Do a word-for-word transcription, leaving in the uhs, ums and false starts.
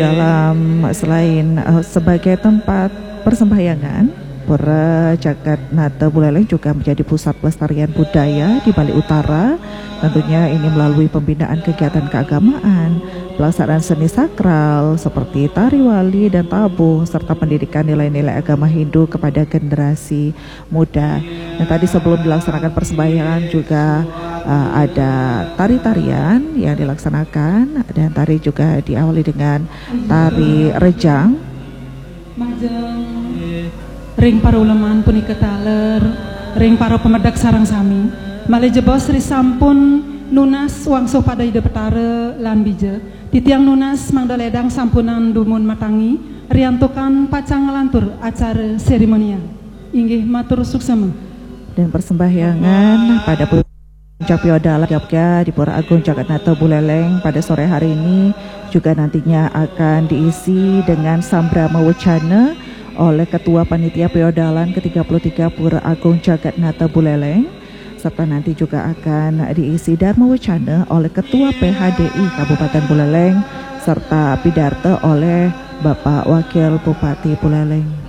Dalam selain uh, sebagai tempat persembahyangan, Pura Jagat Nata Buleleng juga menjadi pusat pelestarian budaya di Bali Utara. Tentunya ini melalui pembinaan kegiatan keagamaan, pelaksanaan seni sakral seperti tari wali dan tabung, serta pendidikan nilai-nilai agama Hindu kepada generasi muda. Dan tadi sebelum dilaksanakan persembahyangan juga uh, ada tari-tarian yang dilaksanakan, dan tari juga diawali dengan tari rejang. Majeng ring para uleman punika taler ring para pamedek sareng sami. Malih jebos ri sampun nunas wangsuh pada Ida Betara lan bija. Titiang nunas mangda ledang sampunang dumun matangi riantukan pacang nglantur acara seremonial. Inggih, matur suksema. Dan persembahyangan pada puncak piodalan di Pura Agung Jagat Nata Buleleng pada sore hari ini juga nantinya akan diisi dengan sambrama wacana oleh Ketua Panitia Piodalan ke tiga puluh tiga Pura Agung Jagat Nata Buleleng, serta nanti juga akan diisi dharma wacana oleh Ketua P H D I Kabupaten Buleleng, serta pidarta oleh Bapak Wakil Bupati Buleleng.